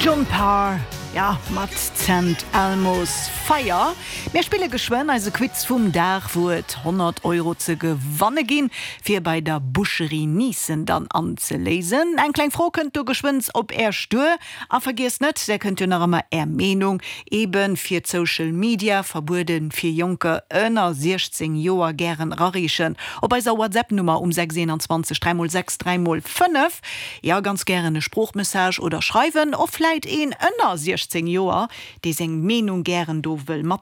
John Parr, ja, mat St. Elmo's Fire. Mir spille geschwënn eise Quiz vum Dag, wou et 100 Euro ze gewanne ginn, fir bei der Boucherie Nissen dann anzeléisen. Eng kleng Fro kënnt do geschwënns op Äerch duer. A vergiesst net, där kënnt jo nach ëmmer Är Meenung, eben fir d'Social Media, verbuede fir Jonker ënner 16 Joer, gären erareechen op eiser WhatsApp Nummer um 6 21 3 x 6 3 x 5. Jo, ganz gären e Sproochmessage oder schreiwen, och vläit een ënner 16 Joer, dee seng Meenung gären do wëll mat.